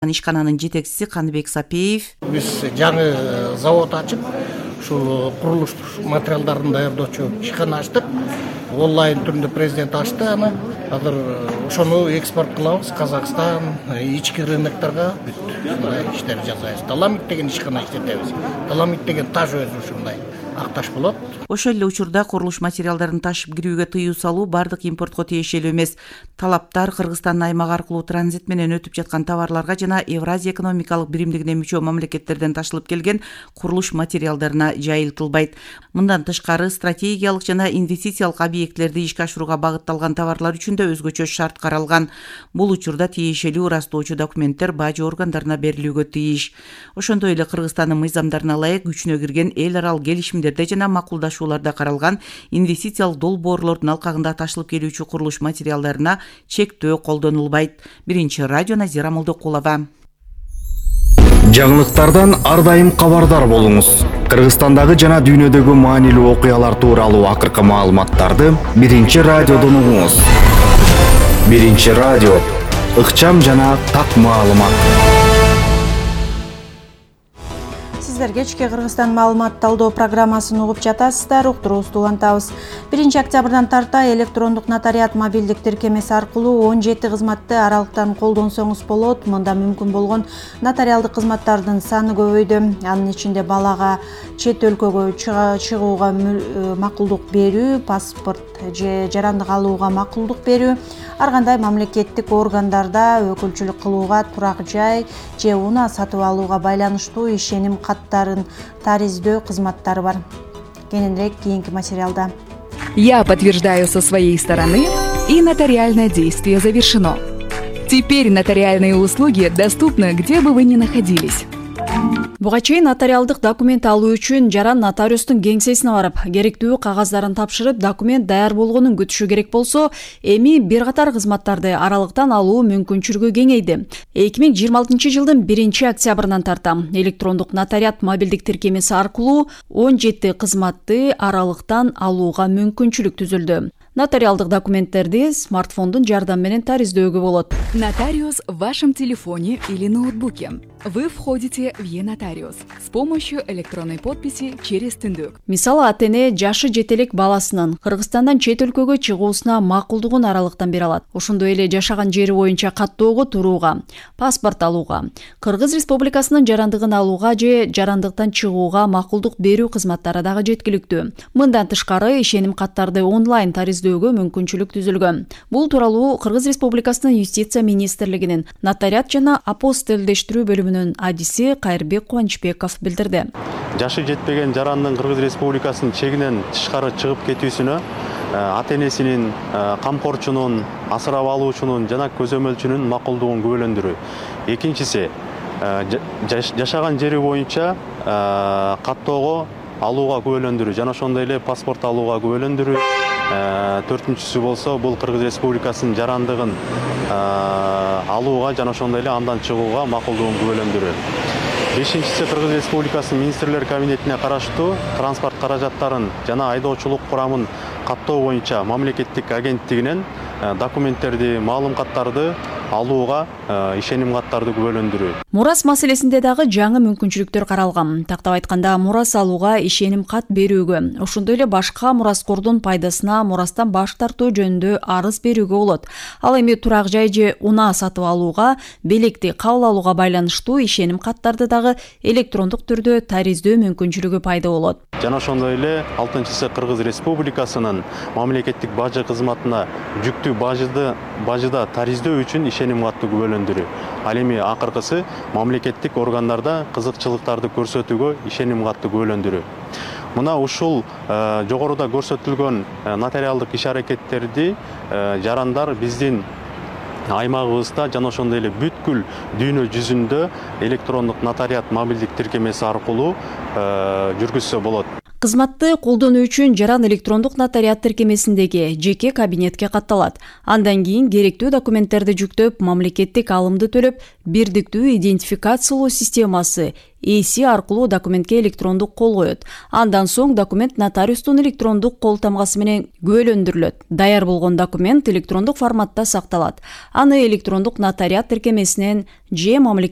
Ишкананын жетекчиси Каныбек Сапиев биз жаңы завод ачып, ушул курулуш материалдарын даярдоочу ишкана ачтык. Онлайн түрүндө президент ачты аны. Азыр ошону экспорт кылабыз Казакстан, ички рыноктарга мындай иштер жасайбыз. Таламит деген ишкана иштетебиз. Таламит деген таш өзү ушундай акташ болот. Ошол эле учурда курулуш материалдарын ташып кирүүгө тыюу салуу бардык импортко тиешелүү эмес. Талаптар Кыргызстандын аймак аркылуу транзит менен өтүп жаткан товарларга жана Евразия экономикалык биримдигине мүчө мамлекеттерден ташылып келген курулуш материалдарына жайылтылбайт. Мындан тышкары стратегиялык жана инвестициялык объектилерди ишке ашырууга багытталган товарлар үчүн да өзгөчө шарт каралган. Бул учурда тиешелүү ырастоочу документтер бажы органдарына берилүүгө тийиш. Ошондой эле Кыргызстандын мыйзамдарына ылайык күчүнө кирген эл аралык келишимдерде жана макулдашууларда каралган инвестициялык долбоорлордун алкагында ташылып келүүчү курулуш материалдарына чектөө колдонулбайт. Биринчи радио Назира Молдокулова. Жаңылыктардан ар дайым кабардар болуңуз. Кыргызстандагы жана дүйнөдөгү маанилүү окуялар тууралуу акыркы маалыматтарды Биринчи радиодон угуңуз. Биринчи радио, ыкчам жана так маалымат. Сиздер кечки Кыргызстан маалымат талдоо программасын угуп жатасыздар. Уктуруубузду улантабыз. 1 октябрдан тарта электрондук нотариат мобилдик тиркемеси аркылуу 17 кызматты аралыктан колдонсоңуз болот. Мында мүмкүн болгон нотариалдык кызматтардын саны көбөйдү. Анын ичинде балага чет өлкөгө чыгууга макулдук берүү, паспорт же жарандык алууга макулдук берүү, ар кандай мамлекеттик органдарда өкүлчүлүк кылууга, турак жай же унаа сатып алууга байланыштуу ишеним каттарын тариздөө кызматтары бар. Кененирээк кийинки материалда. Я подтверждаю со своей стороны, и нотариальное действие завершено. Теперь нотариальные услуги доступны, где бы вы ни находились. Буга чейин нотариалдык документ алуу үчүн жаран нотариустун кеңсесине барып, керектүү кагаздарын тапшырып, документ даяр болгонун күтүшү керек болсо, эми бир катар кызматтарды аралыктан алуу мүмкүнчүлүгү кеңейди. 2026 жылдын 1 октябрынан тарта электрондук нотариат мобилдик тиркемеси аркылуу 17 кызматты аралыктан алууга мүмкүнчүлүк түзүлдү. Нотариалдык документтерди смартфондун жардамы менен тариздөөгө болот. Нотариус в вашем телефоне или ноутбуке. Вы входите в e-нотариус с помощью электронной подписи через түндүк. Мисалы, ата-эне жашы жетелек баласынын Кыргызстандан чет өлкөгө чыгуусуна макулдугун аралыктан бере алат. Ошондой эле жашаган жери боюнча каттоого турууга, паспорт алууга, Кыргыз Республикасынын жарандыгын алууга же жарандыктан чыгууга макулдук берүү кызматтары дагы жеткиликтүү. Мындан тышкары ишеним каттарды онлайн тариздөөгө мүмкүнчүлүк түзүлгөн. Бул тууралуу Кыргыз Республикасынын Юстиция министрлигинин нотариат жана апостилдештирүү бөлүмүнүн адиси Кайырбек Кубанычбеков билдирди. Жашы жетпеген жарандын Кыргыз Республикасынын чегинен тышкары чыгып кетүүсүнө ата-энесинин, камкорчунун, асырап алуучунун жана көзөмөлчүнүн макулдугун күбөлөндүрүү. Экинчиси, жашаган жери боюнча каттоого алууга күбөлөндүрүү жана ошондой эле паспорт алууга күбөлөндүрүү. Төртүнчүсү болсо, бул Кыргыз Республикасынын жарандыгын алууга жана ошондой эле андан чыгууга макулдугун күбөлөндүрүү. Бешинчиси, Кыргыз Республикасынын министрлер кабинетине караштуу транспорт каражаттарын жана айдоочулук курамын каттоо боюнча мамлекеттик агенттигинен документтерди, маалым каттарды алууга ишеним каттарды күбөлөндүрүү. Мурас маселесинде дагы жаңы мүмкүнчүлүктөр каралган. Тактап айтканда, мурас алууга ишеним кат берүүгө, ошондой эле башка мураскордун пайдасына мурастан баш тартуу жөнүндө арыз берүүгө болот. Ал эми турак жай же унаа сатып алууга, белекти кабыл алууга байланыштуу ишеним каттарды дагы электрондук түрдө тариздөө мүмкүнчүлүгү пайда болот. Жана ошондой эле 6-сы Кыргыз Республикасынын мамлекеттик бажы кызматына жүктүү бажыда тариздөө үчүн ишеним катты күбөлөндүрүү. Ал эми акыркысы мамлекеттик органдарда кызыкчылыктарды көрсөтүүгө ишеним катты күбөлөндүрүү. Мына ушул жогоруда көрсөтүлгөн нотариалдык иш-аракеттерди жарандар биздин аймагыбызда жана ошондой эле бүткүл дүйнө жүзүндө электрондук нотариат мобилдик тиркемеси аркылуу жүргүзсө болот. Кызматты колдонуу үчүн жаран электрондук нотариат тиркемесиндеги жеке кабинетке катталат. Андан кийин керектүү документтерди жүктөп, мамлекеттик алымды төлөп, бирдиктүү идентификациялоо системасы ээси аркылуу документке электрондук кол коет. Андан соң документ нотариустун электрондук кол тамгасы менен күбөлөндүрүлөт. Даяр болгон документ электрондук форматта сакталат. Аны электрондук нотариат тиркемесинен же мамлекеттик